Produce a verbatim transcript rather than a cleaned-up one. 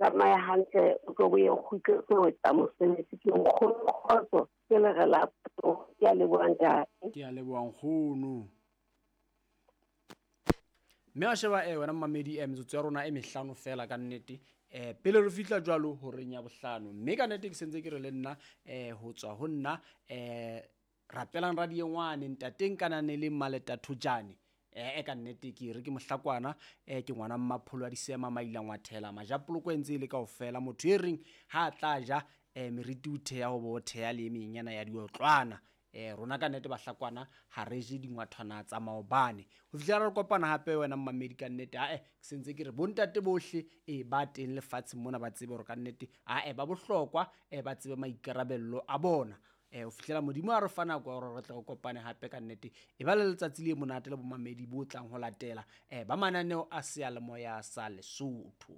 Tsamaya hantle, o tlo boye o kgutletse ho etsa mosebetsi. Ke nkgono Kgotso, ke le re la ke a leboha ntate. Ke a leboha nkgono. Mme wa sheba eh wena mmamedi, eh metsotso ya rona e mehlano fela ka nnete, eh pele re fihla jwalo horeng ya bohlano. Mme ka nnete ke sentse ke re le nna eh ho tswa ho nna eh rapelang radiengwane ntateng kananeleng Maleta Thojane. Eh ka nnete ke re ke mohlakwana, eh ke ngwana mmapholo a disema maila ngwathela majapoloko e ntse e le kaofela. Motho e reng ha a tla ja eh meriti o theha ho bo theha le e menyana ya diotlwana. Eh rona ka nnete bahlakwana ha re je dingwathwana tsa maobane. Ho fihlela re kopana hape wena mmamedi ka nnete, ae ke sentse ke re bontate bohle e ba teng lefatsheng mona ba tsebe hore ka nnete ae ba bohlokwa, eh ba tsebe maikarabello a bona. Eh ho fihlela Modimo a re fa nako ya hore re tle re kopane hape ka nnete. E ba le letsatsi le monate le bomamedi bo tlang ho latela eh ba mananeo a seyalemoya sa Lesotho.